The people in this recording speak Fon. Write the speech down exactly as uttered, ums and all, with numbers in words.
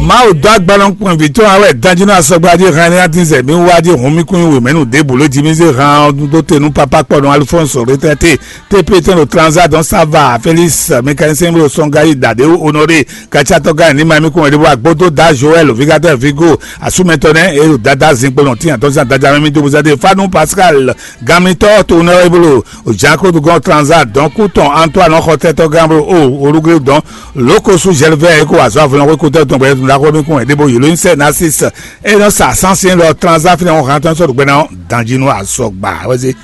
Mawu dó agbalɔ kpɔn vǐ tɔn awɛ danjínú asɔgba jí hɛn ní adínzɛ mi wá jí hun mi kún wè mɛnu débù ló jí mi zé hàn dó te nú papa kpɔnɔ Alphonse retraité, T P tɛn ɖo Transat dɔn Sava, Félix mécanicien ɖo Sɔngayi, Dade Honoré katsatɔ gán ní ma mi kún wè ɖébó agbódó da Joël Vigateur Vigo asúmɛtɔ nɛ e ɖo dada zinkpo nɔ tíyan tɔn sín adaja mɛ mi dó buzade Fanu Pascal, ganmitɔ to nɔ e bolo Jean Claude Gɔn Transat dɔn kú tɔn Antoine xɔtɛtɔ gán bolo o olugbe dɔn Lókosu Gervais e ko wá zɔ avlɔn xwé kútɔ́ tɔn gbɛɖɛ tɔn ɖaxó mi kún ɛɖé bó yǒló nyí sɛ Narcisse e nɔ sa sánsɛn lɔ Transat fínɛ́ ɔ́ hán tɔn sɔ́ ɖo gbɛ́ ná ɔ́ danjí nú azɔgba wɛ́ zé.